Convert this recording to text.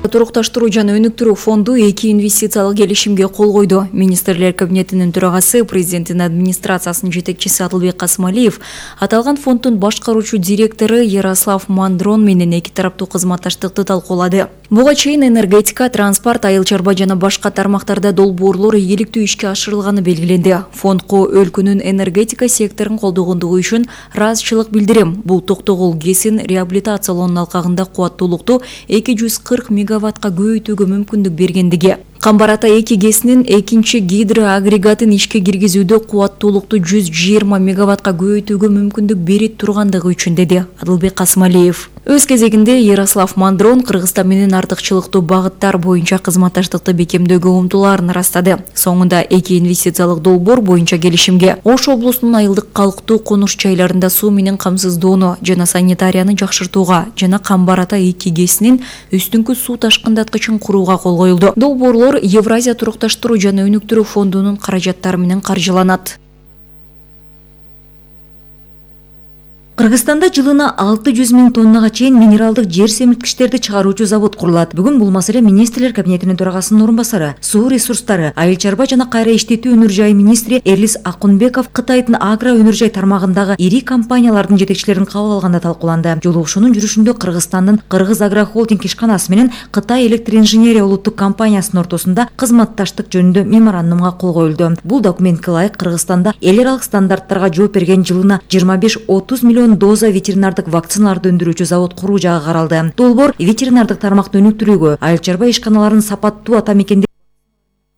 Турукташтыруу жана өнүктүрүү фонду 2 инвестициялык келишимге кол койду. Министрлер кабинетинин төрагасы, президенттин администрациясынын жетекчиси Адылбек Касымалиев аталган фонддун башкаруучу директору Ярослав Мандрон менен эки тараптуу кызматташтыкты талкуулады. Буга чейин энергетика, транспорт, айыл чарба жана башка тармактарда долбоорлор ийгиликтүү ишке ашырылганы белгиленди. Фондко өлкөнүн энергетика секторун колдогондугу үчүн ыраазычылык билдирем. Бул Токтогул ГЭСин реабилитациялоонун алкагында кубаттуулукту 240 мегаваттка көбөйтүүгө мүмкүндүк бергендиги. Камбар-Ата 2 ГЭСинин экинчи гидроагрегатын ишке киргизүүдө кубаттуулукту 120 мегаваттка көбөйтүүгө мүмкүндүк берип тургандыгы үчүн, деди Адылбек Касымалиев. Өз кезегинде Ярослав Мандрон Кыргызстан менен артыкчылыктуу багыттар боюнча кызматташтыкты бекемдөөгө умтулаарын ырастады. Соңунда 2 инвестициялык долбоор боюнча келишимге Ош облусунун айылдык калктуу конуш жайларында суу менен камсыздоону жана санитарияны жакшыртууга жана Камбар-Ата 2 ГЭСинин үстүңкү суу ташкындаткычын курууга кол коюлду. Долбоорлор Евразия турукташтыруу жана өнүктүрүү фондунун каражаттары менен каржыланат. Кыргызстанда жылына 600 000 тоннага чейин минералдык жер семирткичтерди чыгаруучу завод курулат. Бүгүн бул маселе Министрлер кабинетинин төрагасынын орун басары, суу ресурстары, айыл чарба жана кайра иштетүү өнөр жай министри Эрлис Акунбеков Кытайдын агро өнөр жай тармагындагы ири компаниялардын жетекчилерин кабыл алганда талкууланды. Жолугушуунун жүрүшүндө Кыргызстандын Кыргыз Агро Холдинг ишканасы менен Кытай электроинженерия улуттук компаниясынын ортосунда кызматташтык жөнүндө меморандумга кол коюлду. Бул документке ылайык Кыргызстанда эл аралык стандарттарга жооп берген жылына 25-30 миллион доза ветеринардык вакциналарды өндүрүүчү завод куруу жагы каралды. Долбоор ветеринардык тармакты өнүктүрүүгө, айыл чарба ишканаларын сапаттуу ата мекенде